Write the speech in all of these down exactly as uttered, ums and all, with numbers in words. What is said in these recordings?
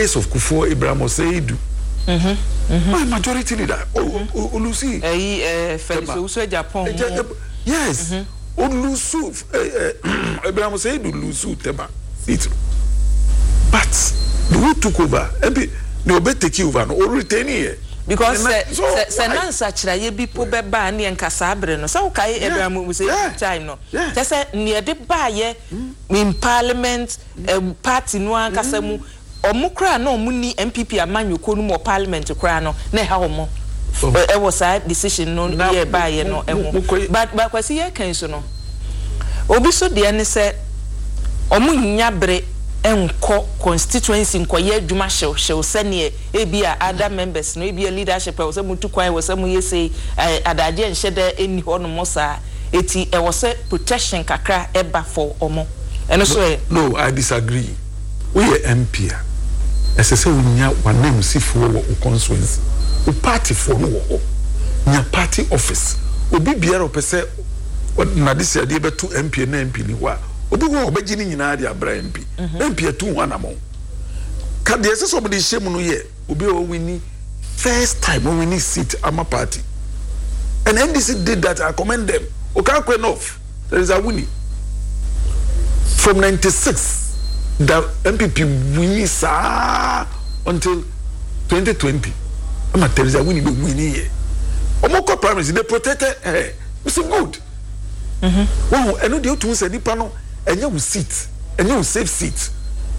days of Kufuor, Abraham Osei Aidoo mm-hmm. Mm-hmm. My majority leader o lose. Ɛyi ɛɛ Felix Owusu Agyapong. Yes, o lose. Abraham Osei Aidoo lose Tema seat, but the who took over, M P ne obe take over no, o retain yɛ. Because sɛ sɛ sɛ na nsakyerɛeɛ bi po bɛba ne nka saa abere no sɛ wokae Abraham Osei time no, kyɛ sɛ nea ɛde baayɛ in parliament, um, party no ankasa mu, ɔmo koraa na ɔmo ni N P P amanyɔkuo no mu wɔ parliament koraa no na ɛha ɔmo ɛwɔ saa decision no yɛ baayɛ no ɛho. but but Kwasi, yɛ kan so no, obi so deɛ ne sɛ ɔmo nya bere nkɔ constituency nkɔyɛ adwuma hyewhyew sɛneɛ ebi a other members no, ebi a leadership ɛwɔ sɛ mo tu kwan, ɛwɔ sɛ mo yɛ sei, ɛɛ adagye nhyɛ dɛ ɛnni hɔ nom saa, eti ɛwɔ sɛ protection kakra ɛba for ɔmo ɛno so ɛ. No, I disagree. Woyɛ M P a, ɛsɛ sɛ wonya w'anamsifoɔ wɔ wo constituency, wo partyfoɔ no wɔ hɔ. Nya party office. Obi biara ɔpɛ sɛ nade si adeɛ bɛto M P na M P ni hɔ a, obi hɔ a ɔbɛgye ne nyinaa de abra M P. M P atu ho anammɔn ka deɛ ɛsɛ sɛ ɔmode hyɛ mu no yɛ obi a ɔwin first time, ɔwin seat ama party, and N D C did that. I commend them. Okaikwei North, there is a winning from ninety-six, the N P P winning saa until twenty twenty ama Theresa Awuni bɛ winning yɛ. Ɔmo kɔ primaries, they protected her. We say good. Wɔn ɛno deɛ, otu sɛ nipa no ɛnyɛ wo seat, ɛnyɛ wo safe seat,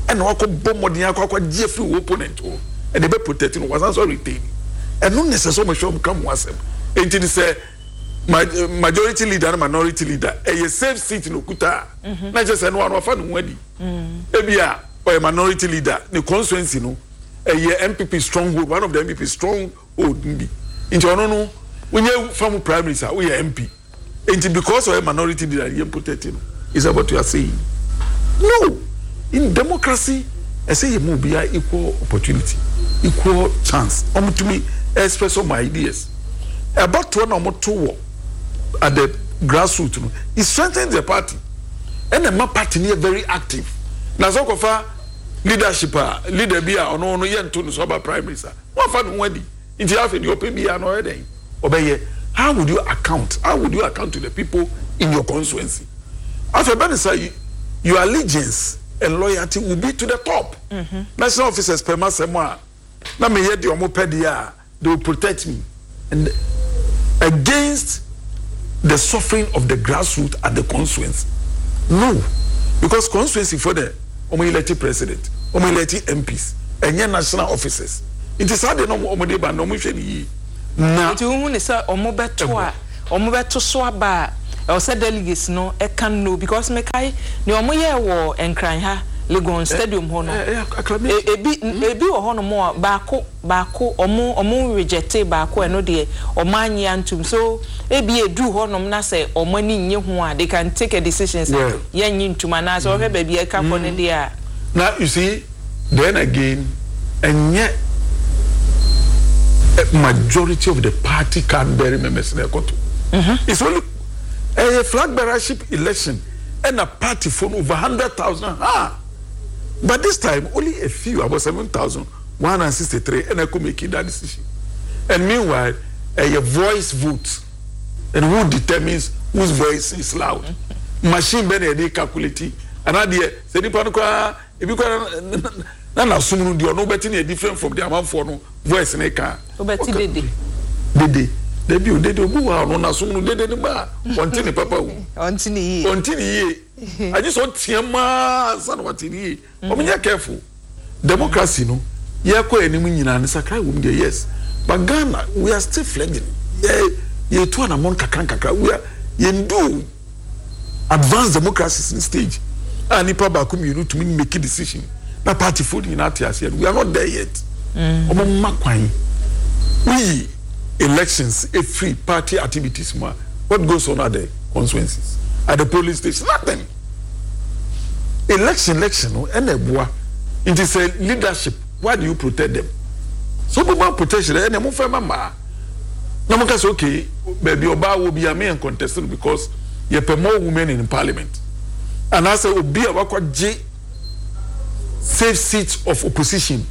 ɛna wakɔ bɔ mmɔden akɔ akɔ gye afiri wo opponent hɔ, ɛna ebe protect no, wasan so retain. Ɛno ne sɛ sɛ ɔmo hwɛ, ɔmo ka mo asɛm. Eti ni sɛ majority leader ne minority leader ɛyɛ safe seat na okuta na kyerɛ sɛ ɛno ano afa ne ho adi. Ebi a ɔyɛ minority leader, ne constituency no ɛyɛ N P P stronghold, one of the N P P stronghold bi, nti ɔno no wonye fam primaries a woyɛ M P, nti because ɔyɛ minority leader, yɛ protect no. Is that what you are saying? No. In democracy, ɛsɛ yɛ mu obiara equal opportunity, equal chance, ɔmo tumi express ɔmo ideas. Ɛbatoɔ na ɔmo to wɔ at the grassroots no, it strengthens the party, ɛna ɛma party no yɛ very active. Na sɛ ɔkɔfa leadership a, leader bi a ɔno no yɛ nto no so aba primaries a, wɔafa ne ho adi, nti afei deɛ ɔpɛ biara na ɔyɛ dɛn ɔbɛyɛ. How would you account how would you account to the people in your constituency? Afei bɛn sɛ your allegiance and loyalty will be to the top. mm -hmm. National officers pɛ ma sɛm a na meyɛ deɛ ɔmo pɛ deɛ a, they will protect me and against the suffering of the grassroots at the constituency. No, because constituency for the ɔmo elect president, ɔmo elect M Ps, ɛnyɛ national officers. Nti saa de na ɔmo ɔmo de ba na ɔmo hwɛ ne yie na. Nti wohu ne sɛ ɔmo bɛto a, ɔmo bɛto so aba a, ɛwɔ sɛ delegates no ɛka no, because mekae nea ɔmo yɛɛ wɔ Nkran ha, Legon Stadium hɔ no, ebi ebi wɔ hɔnom a baako baako ɔmo ɔmo reject baako. Ɛno deɛ, ɔmo anye antum so. Ebi edu hɔnom na sɛ ɔmo ani nye ho a, they can take a decision sɛ yɛn nye ntum, anaasɛ ɔhwɛ baabi ɛka kɔ ne deɛ a. Na you see, then again, ɛnyɛ majority of the party card bearing members na ɛkɔto. It's only ɛyɛ flag bearership election ɛna party fo no over hundred thousand, ah, but this time only a few, about seven thousand one hundred and sixty-three ɛna ɛkɔ make that decision. And meanwhile, ɛyɛ voice vote, and who determines whose voice is loud? Machine bɛ na yɛde calculate anaa deɛ sɛ nipa no koraa, ebi koraa na n'asom no deɛ ɔno bɛti ne yɛ different from the amanfoɔ no voice ne ka. Wobɛti dede. Dede debi o, dede obi wɔ ha, ɔno n'asom no dede ne ba a, ɔnte ne papa o. Ɔnte ne yie. Ɔnte ne yie, agye sɛ ɔteɛ maa ansa na wate ne yie. Ɔmo nyɛ careful. Democracy no, yɛkɔ anim nyinaa ne sakra wɔ mu deɛ, yes, but Ghana, we are still fledgling. Yɛ yɛtu anamɔn kakra nkakra. We are yɛn do advanced democracy in stage a nipa baako mmienu tumi make decision na party fo nyinaa te aseɛ no, we are not there yet. Ɔmo mma kwan woyi elections efiri party activities mu a, what goes on at the constituencies, at the polling station? Nothing. Election, election no ɛna ɛboa. Nti sɛ leadership, why do you protect them? So boma protection ɛna mo fɛ ma maa na mo ka sɛ okay, baabi ɔbaa wɔ bi a, me yɛn contest no because yɛpɛ more women in parliament, anaasɛ obi a wakɔ gye safe seat of opposition.